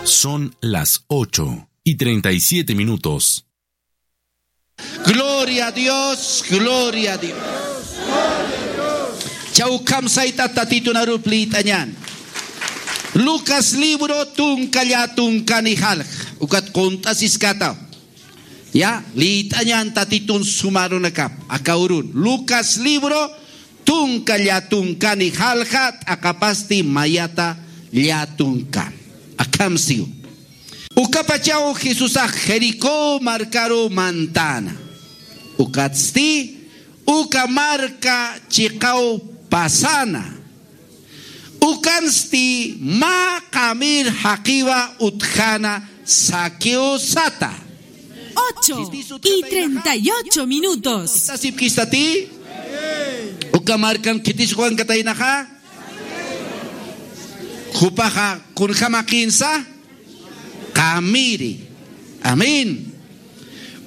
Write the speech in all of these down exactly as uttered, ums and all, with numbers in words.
Son las ocho y treinta y siete minutos. Gloria a Dios, gloria a Dios. Chawkham sayta Tatitun arup liyt'añan. Lucas libro tunka llätunkani jalja. Ukat qunt'asiskataw. Ya, liyt'añan Tatitun suma arunakap. Aka urun. Lucas libro tunka llätunkani jalja, t'aqapasti mayata llätunkan. Akham siw. Ukapachaw Jesusax Jericó markaru mantana. Ukatsti uka marka chiqaw pasana. Ukansti mä qamir jaqiwa utjana Zaqueo sata. Ocho y treinta y ocho minutos. ¿Sasipkistati? Uka markan khitis juankataynaxa. Jupaxa kunjamaqinsa. Qamiri. Amén.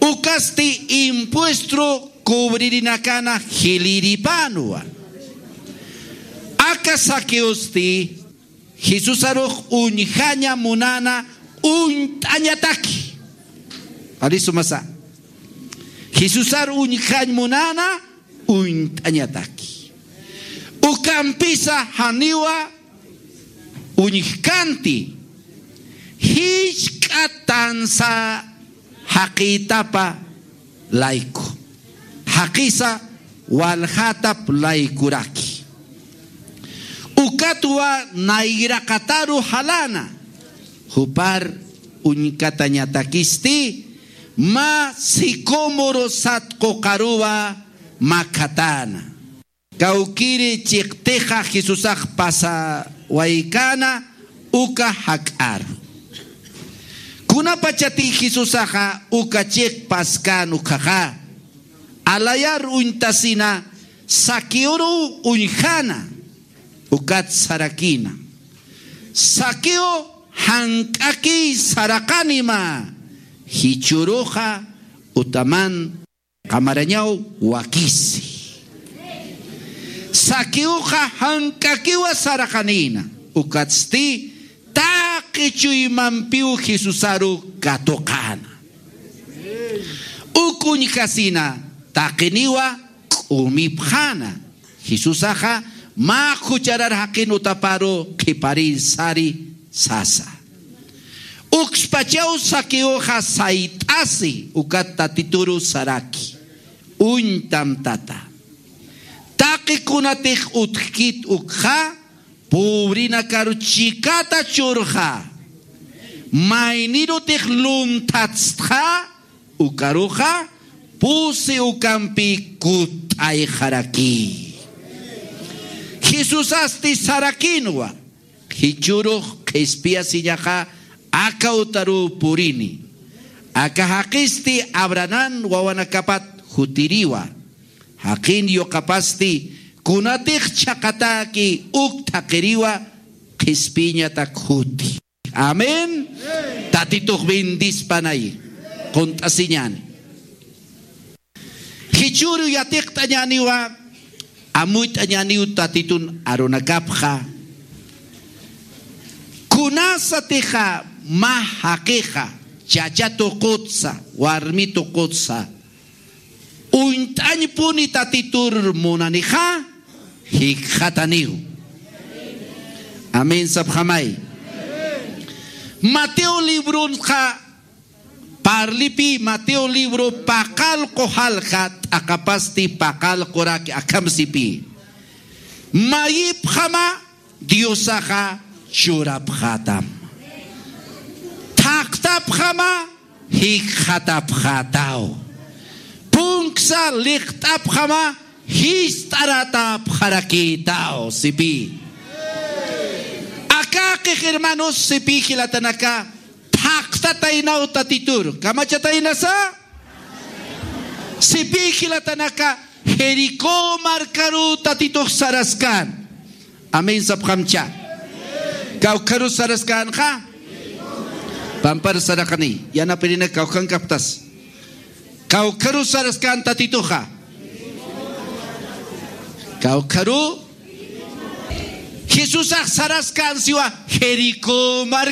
Ukasti impuestro cubririnakana jiliripanwa. Aka Zaqueosti Jesusarux uñjaña munana uñt'añataki. Arisumasa. Jesusar uñjañ munana uñt'añataki. Ukampisa janiwa uñjkanti, jisk'a tansa jaqïtapa layku, jaqisa waljatap laykuraki. Ukatwa nayraqataru jalana, jupar uñkatañatakisti mä sicómoro sat quqaruwa makhatana. Kawkiri chiqtixa Jesusax pasawaykana uka jak'ar. Kunapachati Jesusaxa uka chiq paskan ukhaxa, alayar uñtasina Zaqueoru uñjana, ukat sarakina: Zaqueo, jank'akiy saraqanima, jichhüruxa utaman qamarañaw wakisi. Zaqueoxa jank'akiwa saraqanïna, ukatsti taqi chuymampiw Jesusaru katuqäna. Uk uñjasina taqiniwa k'umipxäna. Jesusaxa mä jucharar jaqin utaparu qhiparïr sari sasa. Ukspachaw Zaqueoxa sayt'asi ukat Tatituru saraki: Uñtam, tata. Taqi kunatix utjkit ukxa, pobrenakaru chikata churxa. Maynirutix lunthatstxa, ukaruxa pusi ukampi kutt'ayxaraki. Jesusasti sarakinwa: Jichhürux qhispiyasiñaxa aka utaruw purini. Aka jaqisti Abrahamp wawanakapat jutiriwa. Jaqin yuqapasti kunatix chhaqatäki uk thaqhiriwa qhispiyñatak juti. Amén. Tatitux bendispanay. Qunt'asiñäni. Jichhüru yatiqt'añäniwa, amuyt'añäniw Tatitun arunakapxa. Kunasatixa mä jaqixa, chacha tuqutsa, warmi tuqutsa, uñt'añpuni Tatitur munanixa, jikxataniw. Amén sapxamay. Mateo libronxa parlipï, Mateo libro paqallqu jalja, t'aqapasti paqallquraki, akham sipï: Mayipxama Diosaxa churapxätam. Thaqtapxama jikxatapxätaw. Punksa liqt'apxama jist'aratäpxarakïtaw, sipï. Akäqix hermanos, sipï jilatanaka, thaqtataynaw Tatitur. Kamachataynasa? Sipï jilatanaka, Jericó markaruw Tatitux saraskän. Amén sapxamcha. Kawkharus saraskänxa. Pampar saraqani. Yanapirinak kawkhankaptas. Kawkharus saraskän Tatituxa. Kawkharu. Jesusax saraskän siwa Jericó marka.